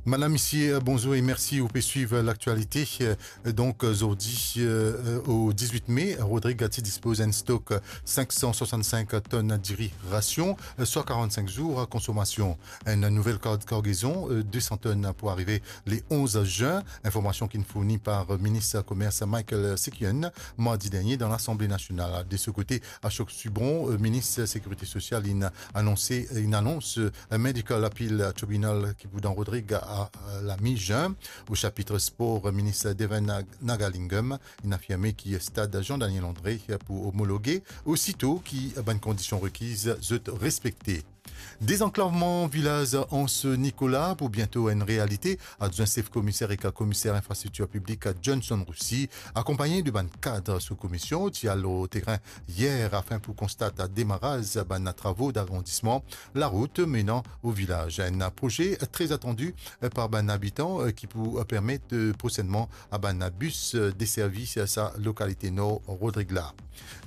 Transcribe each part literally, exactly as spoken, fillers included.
Madam, misie, bonzour e mersi. Ou pe swiv laktialite. Donk, zordi, o dizwit me, Rodrig ti dispoz enn stok sink san swasann-sink tonn diri rasion, swa karann-sink zour konsomasion. Enn nouvel kar-, kargezon, de san tonn pou arive le onz zin. Informasion ki'nn fourni par minis komers Michael Sekyun mardi dernie dan Lasanble Nasional. De so kote, Ashok Subron, minis Sekirite Sosial, inn anonse, inn anons, Medical Appeal Tribunal ki pou dan Rodrig a, a lami zin. O sapit spor, minis Devan Nag-, Nagalingam, inn afirme ki stad Jean-Daniel André pou omologe, osito ki bann kondision rekiz zot respekte. Dezanklavman vilaz Anse Nicolas pou biento enn realite. Adwin sef komiser ek komiser infrastriktir piblik Johnson Roussy, akonpagne de bann kad so komisyon, ti al lor terin yer afin pou konstat demaraz bann travo dagrandisman larout menan o vilaz. Enn proze tre atandi par bann abitan ki pou permet prosennman a bann bis deservi sa lokalite nor Rodrig la.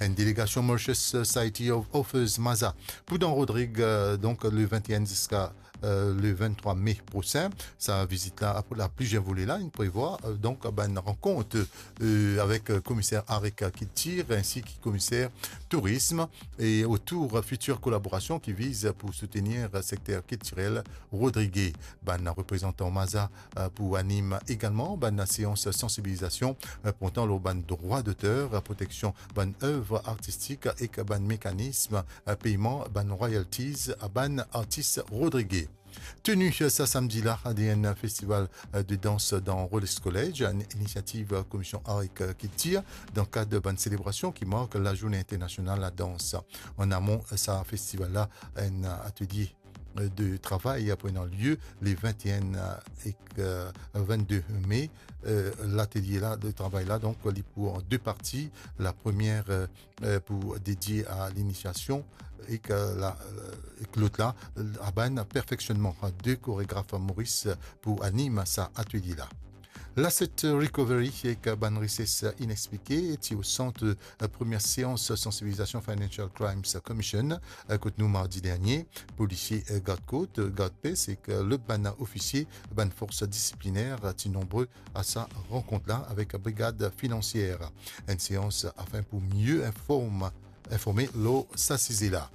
Enn delegasion Mauritius Society of Authors, MASA, pou dan Rodrig, euh, donk le vingt et un ziska, euh, le vingt-trois me prosin. Sa vizit la, pou la plizier vole la, inn prevwa, euh, donk bann rankont, euh, avek, euh, komiser Arik Kiltir ensi ki komiser tourism e otour fitir kolaborasion ki viz pou soutenir sekter kiltirel rodrigez. Bann reprezantan MASA, euh, pou anim egalman bann seans sansibilizasion, euh, portan lor bann drwa doter, proteksion bann ev artistik ek bann mekanism, euh, peyman bann royalties a bann artis rodrigez. Teni sa samdi la, enn festival, euh, de dans dan Rolex College, enn inisiativ, euh, komisyon Arik Kiltir, dan kad bann selebrasion ki mark Lazourne Internasional Ladans. An amon sa festival la, enn atelie de travay pou ena lie le vingt et un ek, euh, vingt-deux me. Euh, latelier la, de travay la, donk, li pou an de parti. La premie, euh, euh, pou dedie a linisiasion ek, euh, la, euh, ek lot la, a bann perfeksionman. De koregraf Moris pou anim sa atelie la. L'asset recovery ek bann reses inexplike ti o sant, euh, premie seans sansibilizasion Financial Crimes Commission, euh, kot nou mardi dernie. Polisie, euh, gard kot, euh, gard pes ek, euh, lot bann ofisie, bann fors disipliner, euh, ti nonbre a sa rankont la avek brigad finansier. Enn seans afin pou mie inform-, informe lor sa size la.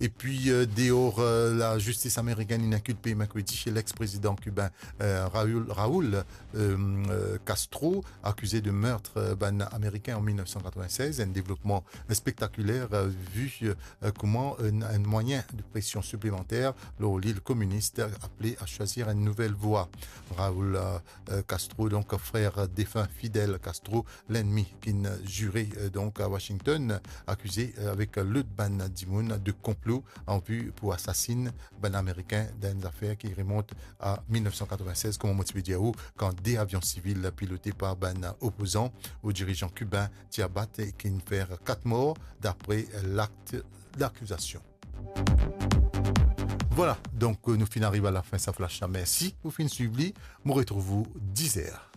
Epi, euh, deor, euh, lazistis amerikenn inn inkilpe merkredi lex-prezidan kiben, euh, Raul, Raul, euh, euh, Castro, akize de meurtre, euh, bann Ameriken an mil nef san katrovin-sez, enn devlopman spektakiler, euh, vi, euh, kouma enn, enn mwayin de presion siplemanter lor lil kominis apele a swazir enn nouvel vwa. Raul, euh, euh, Castro, donk frer defin Fidel Castro, lennmi ki'nn zire, euh, donk a Washington, akize, euh, avek lot bann dimoun de konplo an vi pou asasin bann Ameriken dan enn zafer ki remont a mil nef san katrovin-sez, kouma mo ti pe dir ou, kan de avion sivil pilote par bann opozan o dirizan kiben ti abat e ki'nn fer kat mor, dapre lakt dakizasion. Vwala, donk, euh, nou finn ariv a lafin sa flash la. Mersi pou finn swiv li. Mo retrouv ou dizer.